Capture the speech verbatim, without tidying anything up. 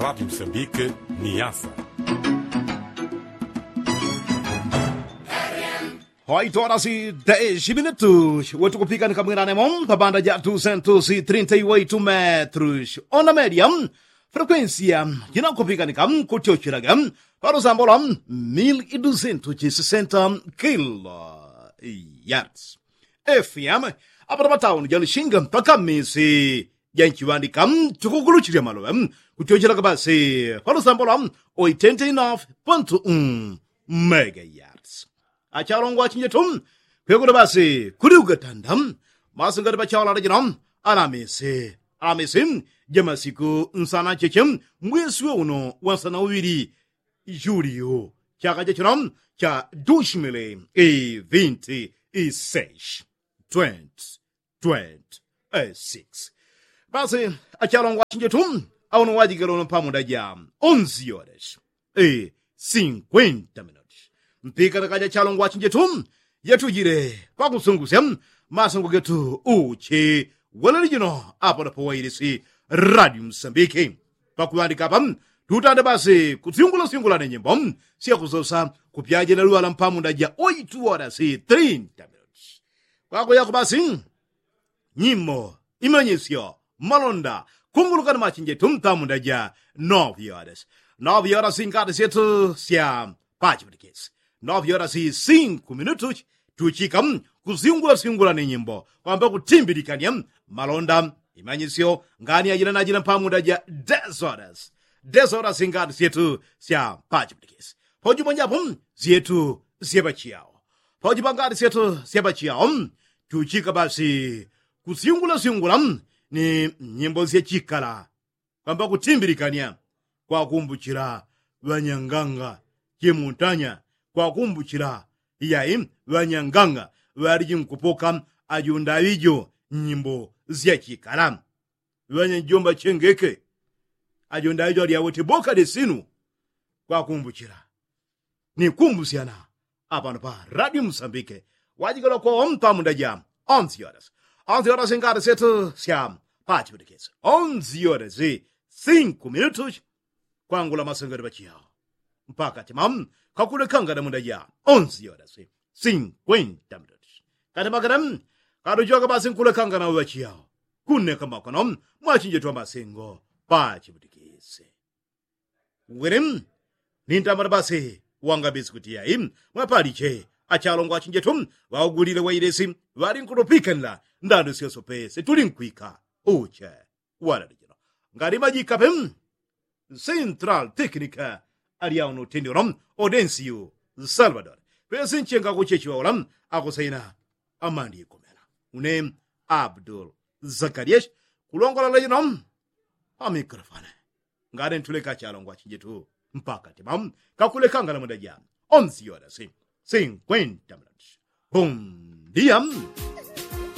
Radi msambike ni yasa. Hoito orasi desi minutu wetukupika ni kamwirane mo pabanda ja dusentusi trinta i waitu metrus ona media. Frekuensia jinakupika ni kamkutyochelaga palusambola mili idusentusi sisenta kilo yards. Fm apata patauni ja lushinga mpaka misi ja nchiŵandika tukukuluchilya maloŵe kutyochela kabasi palusambola oitenta inafu pontu mega yards. Achalongwa achinjetu kwekuta basi kuli ugatanda masingati pachawalala jino alamisi alamisi jamasiku nsana cheche mwesi weuno wansana uŵili juliyo chaka chachino cha dushimili ivinti iseshi twenty twenty six. Basi achalongwa achinjetu auno wajigalono pamuda ja onzi yoreshi sinkwenta minuti mpikana kaja chalongwa achinjetu yatujile pakusungusya masungu getu uchi walalijino apano pawailisi radio msambiki. Pakuŵandika apa tutanda basi kusyungulasyungula ni nyimbo syakusosa kupyajila luŵala mpamunda ja oitu orasi trinta minuti kwakuyako basi nyimbo imanyisyo malonda kunguluka ni machinjetu mpamunda ja novi orasi novi orasi ngati syetu sya pachipatikisi novi orasi sinku minutu tuchika kusyungulasyungula ni nyimbo kwamba kutimbilikanya malonda imanyisyo ngani ajila najila mpamunda ja desodas desodas ngati syetu sya pachipatikisi pojumonjapo syetu syepachiyawo pojupa ngati syetu syepachiyawo tuchika basi kusyungulasyungula ni nyimbo syachikala kwamba kutimbilikanya kwakumbuchila ŵanyanganga chimuntanya kwakumbuchila iyai ŵanyanganga ŵaliji nkupoka ajondaŵijo nyimbo syachikala ŵanyanjomba chengeke ajondaŵijo alyawete boka de sinu kwakumbuchila ni kumbusyana apano pa radio msambike wajigala kwa ompa munda ja onzi yodas onzi yodas ngati syetu sya pachipatikisi onzi yodas sinku minutu kwangula masengero pachiyawo mpaka tima kakulekangana munda ja onzi yodas sinkwenta minutu kati makana katuchoka basi nkulekangana pachiyawo kuneka makono mwachinjetu amasengo pachipatikisi wili nintambala basi wangabisi kuti yai mwapaliche achalongwa achinjetu ŵaugulile wailesi ŵali nkutupikanila ndando syosope setulinkwika uche walalijino ngali majikape central technica alyauno utendelo odensiyu salvador pesi nchenga kuchechiwaula akusaina amandi ikomela une abdul zakarias kulongola lejino pamikrofone ngati ntuleka chalongwa chinjitu mpaka tima kakulekangala muda ja onzi yorasi sinkwenta minuti. Bom dia.